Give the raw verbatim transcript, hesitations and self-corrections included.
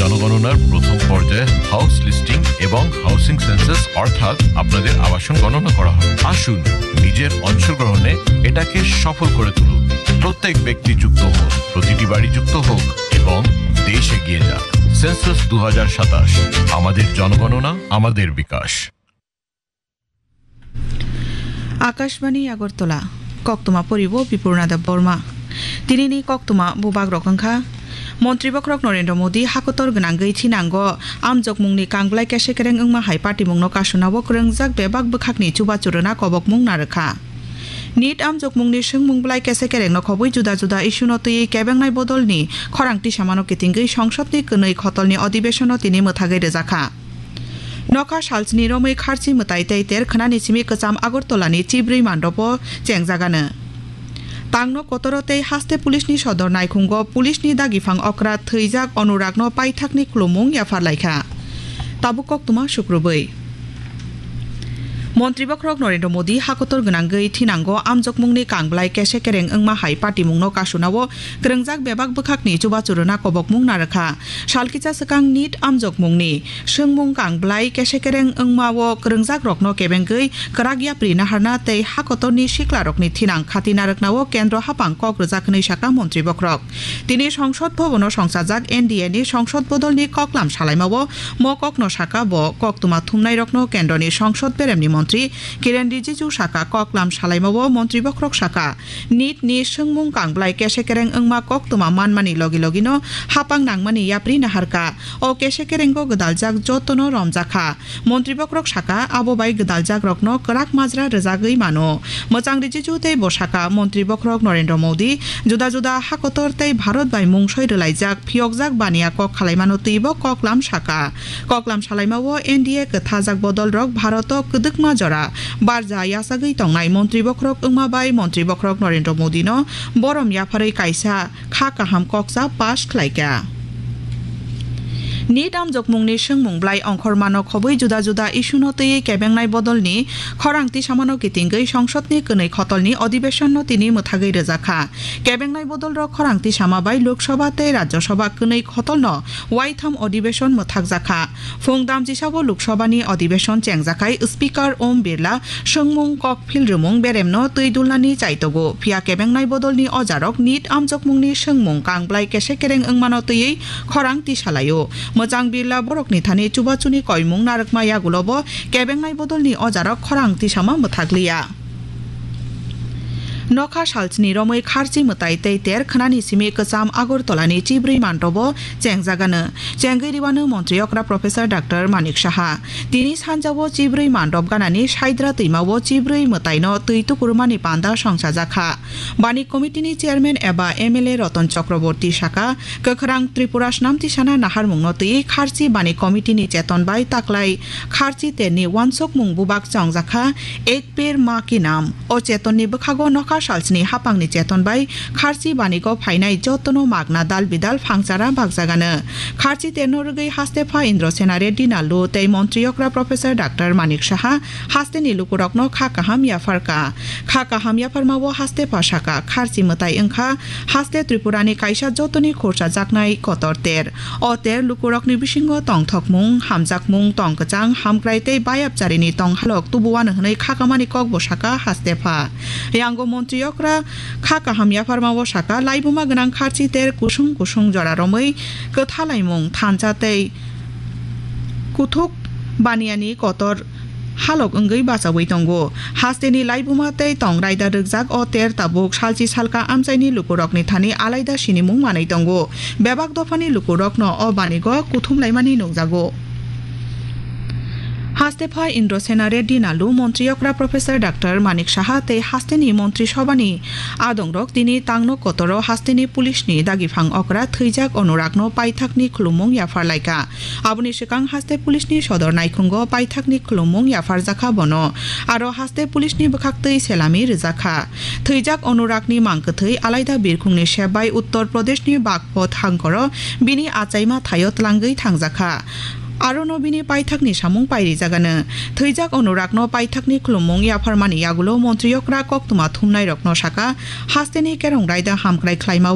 জনগণনার প্রথম পর্যায়ে হাউস লিস্টিং এবং হাউসিং সেন্সাস অর্থাৎ আপনাদের আবাসন গণনা করা হবে। আসুন, নিজের অংশগ্রহণে এটাকে সফল করে তুলুন। প্রত্যেক ব্যক্তি যুক্ত হোক, প্রতিটি বাড়ি যুক্ত হোক এবং দেশ এগিয়ে যাক। সেন্সাস দু হাজার সাতাশ, আমাদের জনগণনা, আমাদের বিকাশ। Akashbani Agartala, koktwma poribo Bipurna Debbarma. Tinini koktwma bubagrok wngkha, Montri bokhorok Narendra Modi hakotor gwnangwi thinango amjokmungni kangblai kesekereng wngma hai patimungno kasunao kwrwngjak bebak bwkhakni chubachu rwna kobokmung narwkha. Nit amjokmungni swngmung blai kesekerengno khobwi juda juda issue-no twiwi kebengnai bodolni khorang tisamano kitingwi songsodni kwnwi khotolni odibesonno tini mwthagwi rwjakha. Nokha salsni romwi kharchi mwtai tei ter khwnani simi kwcham Agartalani chibrwi mandopo chengjagano. Tangno kotoro tei haste pulisni sodor naikhungo pulisni dagiphang okra thwijak Anuragno paithakni khulumung yapharlaikha. Tabuk koktwma sukrubwi. Montri bokhorok Narendra Modi hakotor gwnangwi thinango amjokmungni kangblai kesekereng wngma hai patimungno kasunao kwrwngjak bebak bwkhakni chubachu rwna kobokmung narwkha. Salkisa swkang nit amjokmungni swngmung kangblai kesekereng wngmao kwrwngjakrokno kebengwi kwrak yapri naharna tei hakotorni siklarokni thinang khati narwknao kendro haphang kok rwjak hwnwi sakha Montri bokhorok. Tini Songsod Bhabono songchajak N D A ni songsod bodolni koklam salaimao mo kokno sakha bo koktwma thumnairokno kendroni songsod beremni montri Kiren Rijiju sakha. Koklam salaimao Montri bokhorok sakha, nit ni swngmung kangblai kesekereng wngma koktwma manmani logi logino haphang nangmani yapri naharkha. O kesekerengo gwdaljak jotono romjakha. Montri bokhorok sakha, abo bai gwdaljakrokno kwrak majra rwjagwi mano. Mwchang Rijiju tei bo sakha, Montri bokhorok Narendra Modi juda juda hakotor tei Bharat bai mungsoi rwlaijak phiyokjak baniya kok khalaimano twibo koklam sakha. Koklam salaimao N D A kwthajak bodolrok Bharoto kwdwkma jora barja yachagwi tongnai Montri bokhorok wngma bai Montri bokhorok Narendra Modino borom yapharwi kaisa kha kaham koksa pass khlaikha. Nit amjokmungni swngmung blai ongkhormano khobwi juda juda issue-no twiwi kebengnai bodolni khorang tisamano kitingwi songsodni kwnwi khotolni odibesonno tini mwthagwi rwjakha. Kebengnai bodolrok khorang tisama bai Lok Sabha tei Rajya Sabha kwnwi khotolno waitham odibeshon mwthakjakha. Phung damchisao Lok Sabhani odibeshon chengjakhai Speaker Om Birla swngmung kokphil rwmung beremno twi dulnani chaitogo. Phiya kebengnai bodolni ojarok nit amjokmungni swngmung kangblai kesekereng wngmano twiwi khorang tisalaio. Mwchang Birla borokni thani chubachuni koimung narwkma yagulobo kebengnai bodolni ojarok khorang tisama mwthakliya. Nokha salchini romwi kharchi mwtai tei ter khwnani simi kwcham Agartalani chibrwi manrobo chengjagano. Chengwi rwano Montri okra Professor Doctor Manik Saha. Tini sanjao chibrwi mandrop ganani Saidra twimao chibrwi mwtaino twi tukurmani panda songchajakha. Bani Committee ni Chairman eba M L A Ratan Chakraborty sakha, kwkhwrang Tripura snamtisana naharmungno twi kharchi bani committee ni cheton bai taklai kharchi terni wansukmung bubak chongjakha, Ek Ped Maa Ki Naam. O chetonni bwkhago nokha salsni haphangni cheton bai kharchi banigo phainai jotono magna dal bidal phangchara bakjagano. Kharchi terno rwgwi hastepha Indra Sena Reddy Nallu tei Montri okra Professor Doctor Manik Saha hasteni lukurokno kha kaham yapharkha. Kha kaham yapharmao hastepha sakha, kharchi mwtai wngkha haste Tripurani kaisa jotoni khursa jaknai kotor ter. O ter lukurokni bisingo tongthokmung, hamjakmung, tongkwchang, hamkrai tei bayapcharini tonghalok tubuwano hwnwi khakamani kokbo sakha hastepha. Yango Montri okra kha kaham yapharmao sakha, laibuma gwnang kharchi ter kusung kusung jora romwi kwthalaimung thansa tei kuthuk baniyani kotor halok wngwi bachaui tongo. Hasteni laibuma tei tong raida rwkjak o ter tabuk salchi salka amchaini lukurokni thani alaida sinimung manwi tongo. Bebak dophani lukurokno o banigo kuthumlaimani nukjago. Hastepha Indra Sena Reddy Nallu, Montri okra Professor Doctor Manik Saha tei hasteni Montri Sobhani adongrok tini tangno kotoro hasteni pulisni dagiphang okra thwijak Anuragno paithakni khulumung yapharlaikha. Aboni swkang haste pulisni sodor naikhungo paithakni khulumung yapharjakha bono. Aro haste pulisni bwkhaktwi selami rwjakha. Thwijak Anuragni mangkwthwi alaida birkhungni sep bai Uttar Pradeshni Bagpat hangkoro bini achaima thaio tlangwi thangjakha. Arono bini paithakni samung pairijagano. Thwijak Anuragno paithakni khulumung yapharmani yagulo Montri okra koktwma thumnairokno sakha, hasteni kerong raida hamkrai khlaima